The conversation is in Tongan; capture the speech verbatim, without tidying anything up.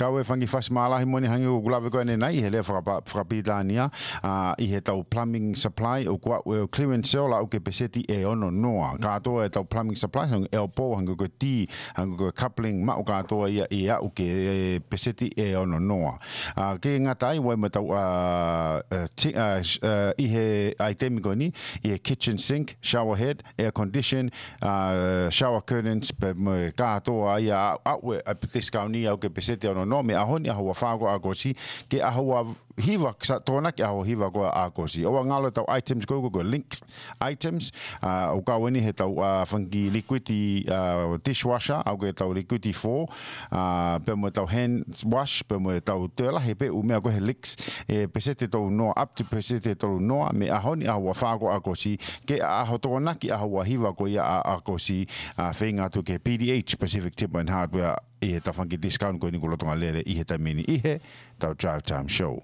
Kau e fanga kiʻi fasi mālahi moʻoni hangē ko ʻeku lave ko eni ʻanenai, ʻi he lea fakapa-, fakapilitānia, ʻa, ʻi heʻetau plumbing supply, ʻoku ʻi ai e clearance sale ʻoku ʻi he peseti ʻe ono noa. Kātoa ʻetau plumbing supply, hangē ko e elbow, hangē ko e tī, hangē ko e coupling, maʻu kātoa ia ʻe aʻu ki he peseti ʻe ono noa. ʻA, ʻikai ngata ai, ʻoku ʻi ai mo ʻetau, ʻa, ʻa, ti-, ʻa, sh-, ʻa, ʻi he ʻaitemi ko eni, ʻi he kitchen sink, shower head, air condition, ʻa, shower curtains, pea mo e kātoa ia ʻa, ʻa, ʻoku ʻi ai e discount ia ʻoku ʻi he peseti ʻe ono noa, mei he ʻaho ni ʻaho ua fā ko ia ʻo ʻAokosi, ki he ʻaho ua hiva, sa-, Tokonaki ʻaho ua hiva ko ia ʻo ʻAokosi. ʻOua ngalo ʻetau items ko ē, ko e linked items, ʻa, ʻoku kau eni heʻetau, ʻa, fanga kiʻi liquid, ʻa, dishwasher, ʻa, ko ʻetau liquid fō, ʻa, pea mo ʻetau hand wash, pea mo ʻetau toe lahi pē ʻū meʻa ko ē he Lix, ʻe peseti ʻe tolu noa, up to peseti ʻe tolu noa, mei he ʻaho ni ʻaho ua fā ko ia ʻo ʻAokosi, ki he ʻaho Tokonaki ʻaho ua hiva ko ia ʻo ʻAokosi, ʻa, feinga atu ki he P D H, Pacific Timber and Hardware, ʻi heʻetau fanga kiʻi discount ko eni ʻoku lolotonga lele ʻi he taimi ni ʻi heʻetau Drive Time Show.